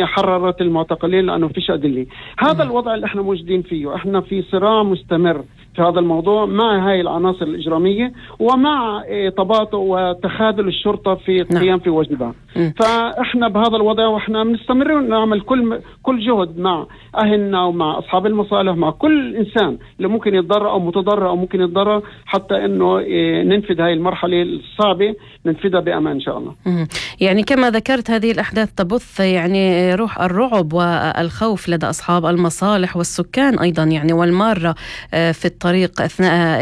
حررت المعتقلين لأنه فيش أدلة. هذا الوضع اللي احنا موجودين فيه. احنا في صراع مستمر في هذا الموضوع مع هاي العناصر الإجرامية ومع تباطؤ وتخاذل الشرطة في القيام في واجبها. فاحنا بهذا الوضع واحنا بنستمر نعمل كل جهد مع أهلنا ومع أصحاب المصالح، مع كل إنسان اللي ممكن يتضرر أو متضرر أو ممكن يتضرر، حتى إنه ننفذ هاي المرحلة الصعبة ننفذها بأمان إن شاء الله. يعني كما ذكرت هذه الأحداث تبث يعني روح الرعب والخوف لدى أصحاب المصالح والسكان أيضا يعني والمارة في الطريق أثناء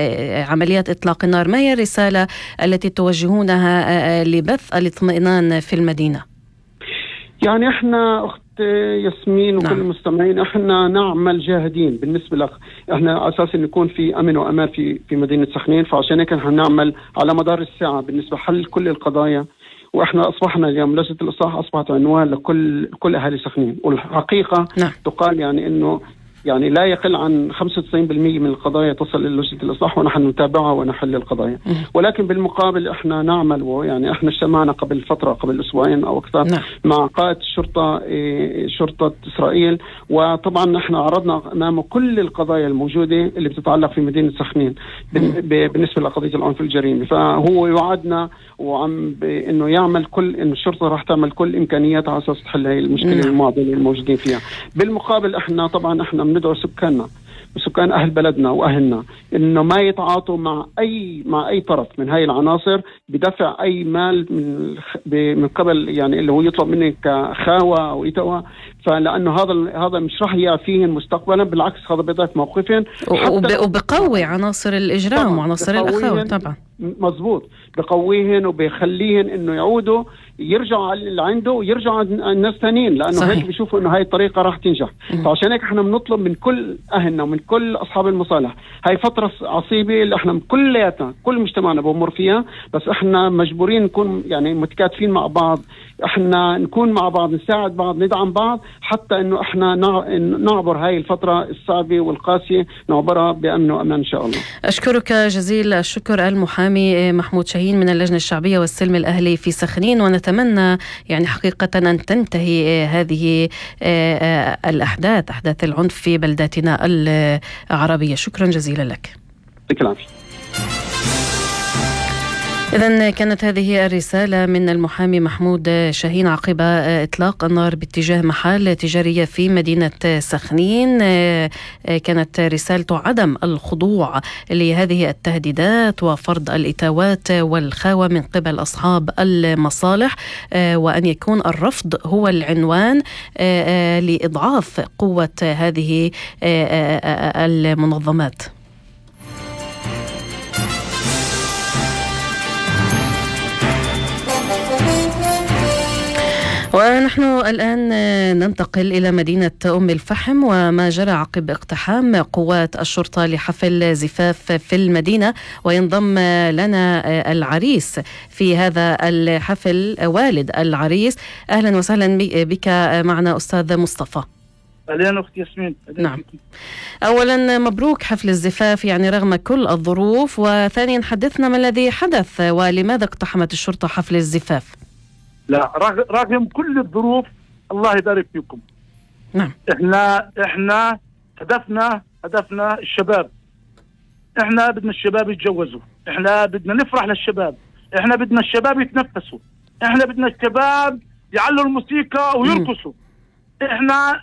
عمليات إطلاق النار. ما هي الرسالة التي توجهونها لبث الاطمئنان في المدينة؟ يعني احنا أخت ياسمين وكل المستمعين احنا نعمل جاهدين بالنسبة لك. احنا أساسا نكون في أمن وأمان في مدينة سخنين، فعشان هيك احنا نعمل على مدار الساعة بالنسبة حل كل القضايا. واحنا اصبحنا اليوم لجنة الإصلاح اصبحت عنوان لكل اهالي سخنين، والحقيقة تقال يعني انه يعني لا يقل عن 95% من القضايا تصل إلى لجنة الإصلاح ونحن نتابعها ونحل القضايا. ولكن بالمقابل احنا نعمل، ويعني احنا اجتمعنا قبل فترة قبل أسبوعين أو أكثر مع قائد شرطة إسرائيل، وطبعا احنا عرضنا أمامه كل القضايا الموجودة اللي بتتعلق في مدينة سخنين بالنسبة لقضية العنف الجريمي. فهو يوعدنا إنه يعمل إنه الشرطة راح تعمل كل إمكانياتها على أساس تحل هاي المشكلة المعضلة الموجودين فيها. بالمقابل احنا ندعو سكاننا وسكان أهل بلدنا وأهلنا إنه ما يتعاطوا مع أي طرف من هاي العناصر بدفع أي مال من قبل يعني اللي هو يطلب منك كخاوة أو إتوى، فلأنه هذا مش راح يعفيهن مستقبلا، بالعكس هذا بيضعف موقفهم وبقوي عناصر الإجرام وعناصر الأخاوة. طبعا مزبوط، بقويهن وبيخليهن إنه يعودوا يرجعوا اللي عنده ويرجعوا الناس ثانيين، لأنه صحيح. هيك بيشوفوا إنه هاي الطريقة راح تنجح. فعشان هيك إحنا بنطلب من كل أهلنا ومن كل أصحاب المصالح، هاي فترة عصيبة اللي إحنا كلياتنا كل مجتمعنا بمر فيها، بس إحنا مجبورين نكون يعني متكاتفين مع بعض، إحنا نكون مع بعض، نساعد بعض، ندعم بعض، حتى إنه إحنا نعبر هاي الفترة الصعبة والقاسية، نعبرها بأمن وأمان إن شاء الله. أشكرك جزيل الشكر المحامي محمود شاهين من اللجنة الشعبية والسلم الأهلي في سخنين، ونتمنى يعني حقيقة أن تنتهي هذه أحداث العنف في بلداتنا العربية. شكرا جزيلا لك. شكرا. إذن كانت هذه الرسالة من المحامي محمود شاهين عقب إطلاق النار باتجاه محل تجارية في مدينة سخنين. كانت رسالته عدم الخضوع لهذه التهديدات وفرض الإتاوات والخاوة من قبل أصحاب المصالح، وأن يكون الرفض هو العنوان لإضعاف قوة هذه المنظمات. ونحن الآن ننتقل إلى مدينة أم الفحم وما جرى عقب اقتحام قوات الشرطة لحفل زفاف في المدينة. وينضم لنا العريس في هذا الحفل، والد العريس. أهلا وسهلا بك معنا أستاذ مصطفى. أهلا أختي ياسمين. نعم، أولا مبروك حفل الزفاف يعني رغم كل الظروف، وثانيا حدثنا ما الذي حدث ولماذا اقتحمت الشرطة حفل الزفاف؟ لا، رغم كل الظروف الله يبارك فيكم. نعم، احنا هدفنا الشباب. احنا بدنا الشباب يتجوزوا، احنا بدنا نفرح للشباب، احنا بدنا الشباب يتنفسوا، احنا بدنا الشباب يعلوا الموسيقى ويرقصوا. احنا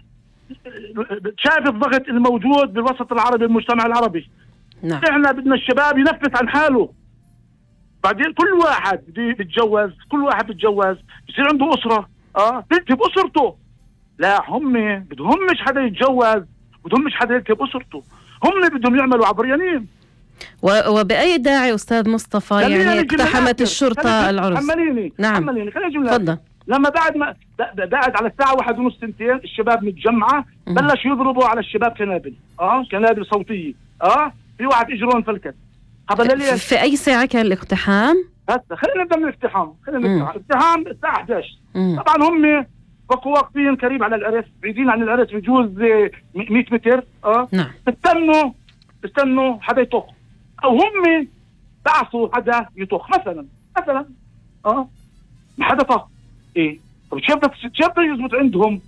شايف الضغط الموجود بالوسط العربي، المجتمع العربي. نعم. احنا بدنا الشباب ينفس عن حاله. بعدين كل واحد بيتجوز، بصير عنده أسرة، بيكتب أسرته. لا، هم بدهمش حدا يتجوز، بدهمش حدا يكتب أسرته، هم بدهم يعملوا عبريانين. وبأي داعي أستاذ مصطفى يعني اقتحمت الشرطة العرس؟ حمليني. خلينا تفضل. لما بعد على الساعة 1:30 2 الشباب متجمعة، بلش يضربوا على الشباب كنابل صوتية. في واحد إجرون فلكت. في أي ساعة كان الاقتحام؟ هسه خلينا نبدأ من الاقتحام. الاقتحام الساعة 11. طبعا هم بقوا واقفين قريب على العرس، بعيدين عن العرس بجوز 100 متر. نعم. استنوا حدا يطخ، أو هم بعثوا حدا يطخ مثلا ما حدا طخ. طب شو بدك يزبط عندهم